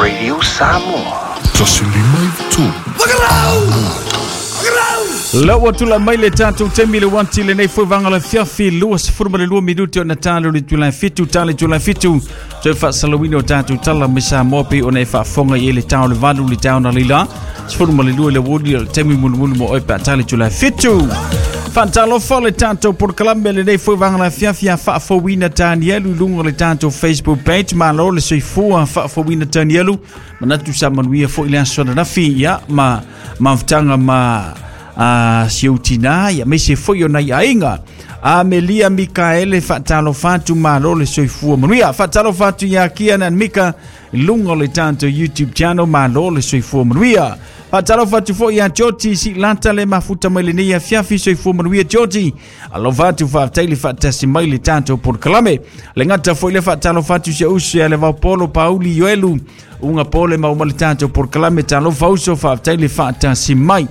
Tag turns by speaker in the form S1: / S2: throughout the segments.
S1: Radio Samoa.
S2: 153.
S3: La ua tula mai le tatou taimi le uati lenei foi vaega o le afiafi 22 minute ona talo le itula e 7 tala itula e 7 toe faasalauina o tatou tala mai Samoa pei ona e faafofoga i ai le tao le 8 le tao na leila 12 le uoli o le taimi mulimuli mo oe pe a tala itula e 7. Faatalofa le tatou polokalame lenei foi vaega o le afiafi a faafouina Tanielu i luga o le tatou Facebook page. Malo le soifua faafouina Tanielu. Manatu sa manuia foi le aso ananafi ia ma mafutaga ma a si ou tinā ia aemaise foi o nai aiga. Amelia Mikaele faatalofa atu malo le soifua manuia. Faatalofa atu ia Kian and Mika i luga o le tatou YouTube channel malo le soifua manuia. Faatalofa atu foi ia Georgie Silata le mafuta mai lenei afiafi soifua manuia Georgie. Alofa atu faafetai le faatasi mai le tatou polokalame. Le gata foi le faatalofa atu si uso ia le Vaupolo Pauli Ioelu uga pole ma uma le tatou polokalame talofa uso faafetai le faatasi mai.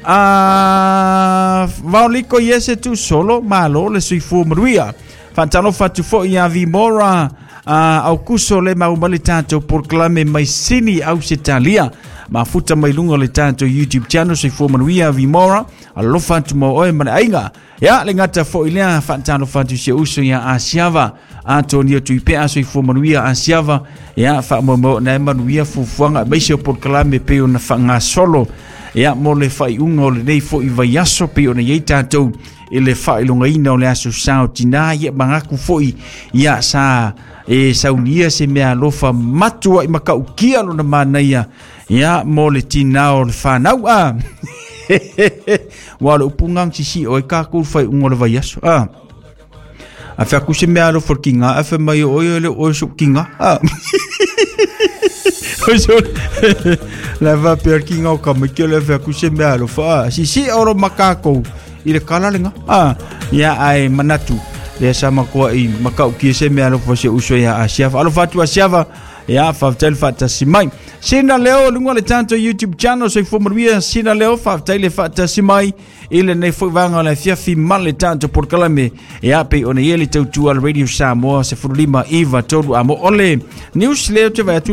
S3: A vaoliko i ese tu solo malo le soifua manuia. Faatalofa atu foi ia Vimora a Aukuso le mau mai le tatou polokalame mai Sini Ausetalia. Mafuta mai luga o le tatou YouTube channel soifua manuia Vimora. Alofa atu mo oe ma le aiga. Ia le gata foi lea faatalofa atu si uso ia Asiava. Antonio Tuipea soifua manuia Asiava. Ia faamoemoe na e manuia fuafuaga aemaise o polokalame pei ona faagasolo. Ia mo le faaiuga o lenei foi vaiaso pei ona i ai tatou i le faailogaina o le aso sa o tinā ia manatu foi ia sa e saunia se mea alofa matuai matautia lona manaia ia mo le tinā o le whanau a. Ua o le upu ngang sisi o e kākou faaiuga o le vaiaso a. A fai atu se mea alofa o le kinga, a fai mai o oe le oe so'u kinga. A. Oi so la va pe kinga o ka mai ke le fai atu se mea alofa. A. Sisi oro makako i le kala lenga. A. Ia ai manatu. Le sa makoa i makau ki se mea alofa se uso ia Asiava. Alofa atu Asiava. Ia faafetai le faatasi mai. Sina Leo luga o le tatou YouTube channel soifua manuia Sina Leo faafetai le faatasi mai i lenei foi vaega o le afiafi ma le tatou polokalame. Ia pei ona i ai le tautua a le Radio Samoa 15 9 3 a mo ole news lea ou te vaai atu.